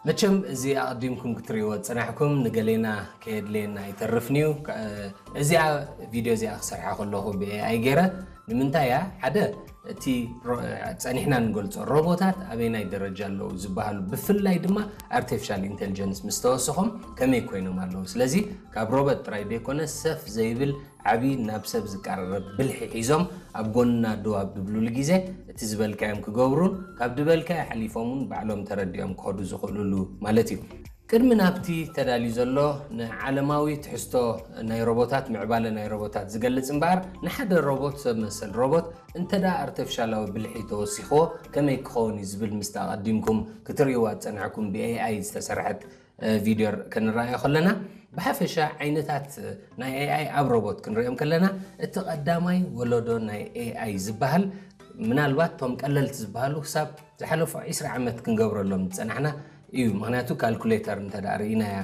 መቸም እዚ ኣቐዲምኩም ክትርእይዎ ዝጸናሕኩም ንገሌና ከየድልየና ኣይተርፍን እዩ። እዚኣ ቪድዮ እዚኣ ክሰርሓ ከለኹ ብኤኣይ ገይረ። ንምንታይ እያ? ሓደ፣ እቲ ጸኒሕና ንገልጾ ሮቦታት ኣበይናይ ደረጃ ኣለዉ ዝበሃሉ፣ ብፍላይ ድማ ኣርቲፊሻል ኢንቴሊጀንስ ምስ ተወሰኾም ከመይ ኮይኖም ኣለዉ። ስለዚ ካብ ሮቦት ጥራይ ዘይኮነ ሰፍ ዘይብል ዓቢ ናብ ሰብ ዝቀራረብ ብልሒ ሒዞም ኣብ ጎንና ደው ኣብ ዝብሉሉ ግዜ እቲ ዝበልካዮም ክገብሩን ካብ ዝበልካዮ ሓሊፎም እውን ባዕሎም ተረዲኦም ክኸዱ ዝኽእሉሉ ማለት እዩ። ቅድሚ ናብቲ ተዳልዩ ዘሎ ንዓለማዊ ትሕዝቶ ናይ ሮቦታት፣ ምዕባለ ናይ ሮቦታት ዝገልጽ እምበኣር፣ ንሓደ ሮቦት፣ ሰብ መሰል ሮቦት፣ እንተ ደኣ ኣርቲፊሻላዊ ብልሒ ተወሲኽዎ ከመይ ክኸውን እዩ ዝብል ምስቲ ኣቐዲምኩም ክትርእይዋ ዝጸናሕኩም ብኤኣይ ዝተሰርሐት ቪድዮ ክንረኣዮ ከለና፣ ብሓፈሻ ዓይነታት ናይ ኤኣይ ኣብ ሮቦት ክንሪኦም ከለና፣ እቲ ቀዳማይ ወለዶ ናይ ኤኣይ ዝበሃል ምናልባት እቶም ቀለልቲ ዝበሃሉ ክሳብ ዝሓለፉ ዒስራ ዓመት ክንገብረሎም ዝጸናሕና እዩ። ምኽንያቱ ካልኩሌተር እንተ ደኣ ርኢናያ